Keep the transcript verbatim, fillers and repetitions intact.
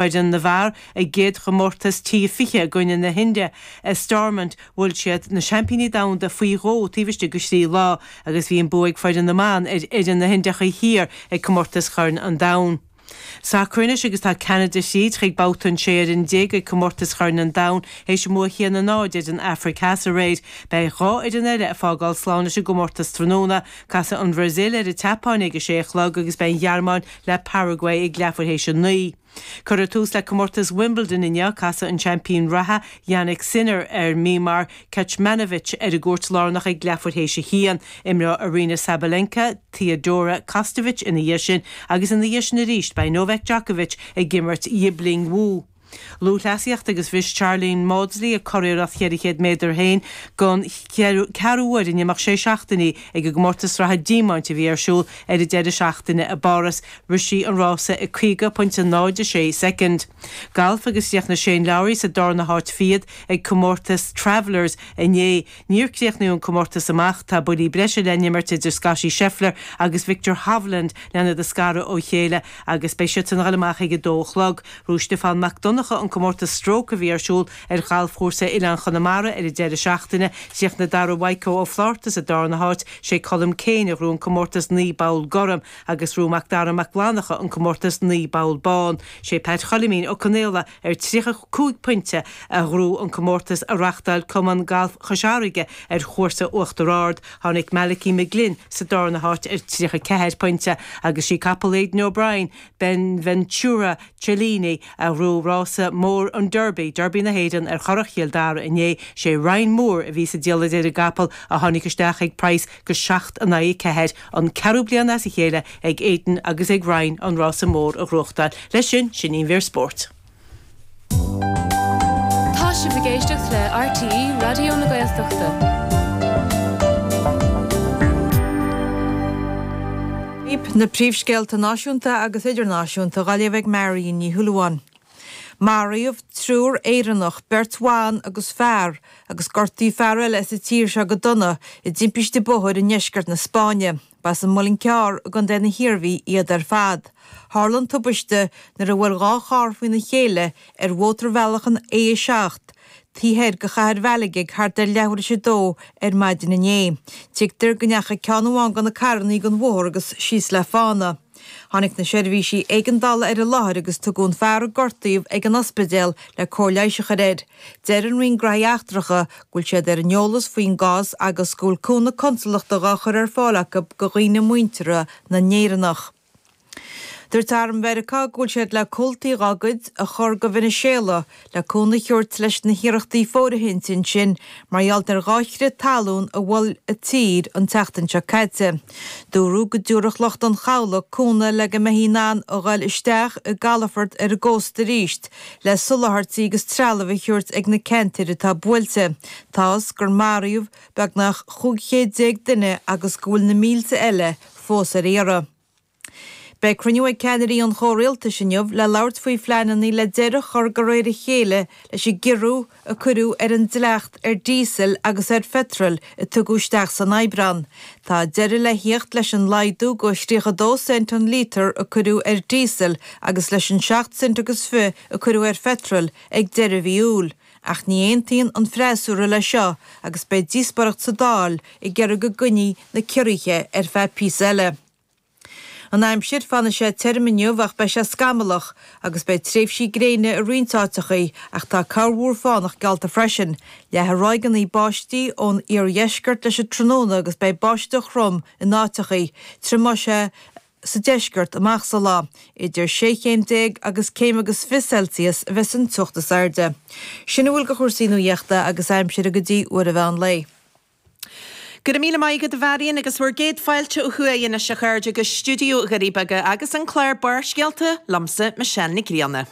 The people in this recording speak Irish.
Foireann na bhfear a gcéad chomórtas T fiche i gcoinne na hIndia i Stormont, bhuail siad na seaimpíní domhanda faoi dhó taobh istigh de thrí lá agus bhí an bua ag foireann na mban ar fhoireann na hIndiacha Thiar ag comórtas Chorn an Domhain. Sacar anois agus tá Ceanada thríd chuig babhta an sé fhoireann déag ag comórtas Chorn an Domhain théis a mbua a haon a náid ar an Afraic Theas aréir. Beidh dhá fhoireann eile ag fágáil slán leis an gcomórtas tráthnóna. Casfaidh an Bhrasaíl ar an tSeapáin ag a sé a chlog agus beidh an Ghearmáin le Paraguay ag leathuair théis a naoi. Cuirfear tús le comórtas Wimbledon inniu, casfaidh an seaimpín reatha, Jannik Sinner, ar Miomir Kecmanovic ar an gcúirt lárnach ag leathuair théis a haon. Imreoidh Aryna Sabalenka, Teodora Kostovic ina dhiaidh sin agus ina dhiaidh sin arís beidh Novak Djokovic ag imirt Yibing Wu. Lúthchleasaíocht agus bhris Sharlene Mawdsley a curiarracht cheithre chéad méadar féin don cheathrú huair in imeacht sé seachtainí ag an gcomórtas sraithe díomáint a bhí ar siúl ar an deireadh seachtaine i bPáras. Rith sí an rása i caoga pointe náid a sé soicind. Galf agus chríochnaigh Shane Lowry sa darna háit fichead ag comórtas Travelers inné. Níor críochnaíodh an comórtas amach. Tá buillí breise le n-imirt idir Scottie Scheffler agus Viktor Hovland lena iad a scaradh ó chéile agus beidh siadsan a dhul amach ag a dó a chlog. Ghnóthaigh Stiofán Mac Donncha an comórtas Stroke a bhí ar siúl ar ghalfchúrsa Oileán Chonamara ar an deireadh seachtaine. Chríochnaigh Dara Mhaidhc Ó Flátharta sa darna háit, sé Colm Kane a ghnóthaigh an comórtas naoi bpoll gorm agus ghnóthaigh Mac Dara Mac Fhlannchadha an comórtas naoi bpoll bán. Sé Pat Choilimín Ó Conaola ar tríocha cúig pointe a ghnóthaigh an comórtas a reáchtáil Cumann Gailf Chois Fharraige ar chúrsa Uachtar Ard. Tháinig Malachy McGlynn sa darna háit ar tríocha ceathair pointe agus sí capall Aidan O'Brien, Benventura Cellini, a ghnóthaigh rása mór an Derby, Derby na hÉireann ar Churrach Chill Dara inné. Sé Ryan Moore a bhí sa diallait ar an gcapall a tháinig isteach ag praghas go seacht in aghaidh a ceathair, an ceathrú bliain as a chéile ag Aidan agus ag Ryan an rása mór a ghnóthachtáil. Leis sin, sin í an mhír spóirt. Tá sibh ag éisteacht le RTÉ Raidió na Gaeltachta. Na príomhscéalta náisiúnta agus idirnáisiúnta á léamh ag Marion Ní Shúilleabháin. Maraíodh triúr Éireannach, beirt bhan agus fear, agus gortaíodh fear eile as an tír seo go dona i dtimpiste bóthair i ndeisceart na Spáinne. Ba as an Muileann Cearr i gContae na hIarmhí iad ar fad. Tharla an tubaiste nuair a bhuail dhá charr faoina chéile ar mhótarbhealach an A a seacht, taobh thoir de chathair Mhalaga thart ar leathuair théis a dó ar maidin inné. Tuigtear go ndeachaigh ceann amháin de na carrannaí den bhóthar agus síos le fána. Tháinig na seirbhísí éigeandála ar an láthair agus tugadh an fear a gortaíodh ag an ospidéal le cóir leighis a chur air. Deir an Roinn Gnóthaí Eachtracha go bhfuil siad ar an eolas faoin gcás agus go bhfuil cúnamh consalachta dhá chur ar fáil acu do dhaoine muinteartha na nÉireannach. Dúirt Arm Mheiriceá go bhfuil siad le comhaltaí dhá gcuid a chur go Veiniséala le cúnamh a thabhairt leis na hiarrachtaí fóirithinte ansin mar gheall ar dhá chrith talún a bhuail an tír an tseachtain seo caite. Dúradh go dtabharfadh lucht an chabhlaigh cúnamh le go mbeifí in ann a ghoil isteach i gcalafort ar an gcósta arís le soláthairtí agus trealamh a thabhairt ag na ceantair atá buailte. Tá fhios gur maraíodh beagnach chúig chéad déag duine agus go bhfuil na mílte eile fós ar iarraidh. Beidh cruinniú ag ceannairí an chomhrialtais inniu le labhairt faoi phleananna le deireadh a chur de réir a chéile leis an gciorrú a cuireadh ar an dleacht ar dhíosal agus ar pheitreal a tugadh isteach san Aibreán. Tá deireadh le theacht leis an laghdú go tríocha dó cent an lítear a cuireadh ar dhíosal agus leis an seacht cent agus fiche a cuireadh ar pheitreal ag deireadh mhí Iúil. Ach ní aontaíonn an freasúra leis seo agus beidh díospóireacht sa Dáil ag iarraidh go gcoinneofaí na ciorruithe ar feadh píosa eile. An aimsir, Fanfaidh sé tirim inniu ach beidh sé scamallach agus beidh tréimhsí gréine i roinnt áiteachaí ach tá corrmhúr fánach geallta freisin. Leathfaidh ráigeanna báistí ón iardheisceart leis an tráthnóna agus beidh báisteach throm in áiteachaí. Triomóidh sé sa deisceart amach sa lá. Idir sé chéim déag agus céim agus fiche Celsius a bheas an teocht is airde. Sin a bhfuil de chúrsaí nuaíochta agus aimsire go dtí uair an mheán lae. Go raibh míle maith agat a Mharion agus bhur gcéad fáilte ó thuaidh anois a chairde go stiúideo Dhoirí Beaga agus an clár Barrscéalta liomsa Michelle Nic Grianna.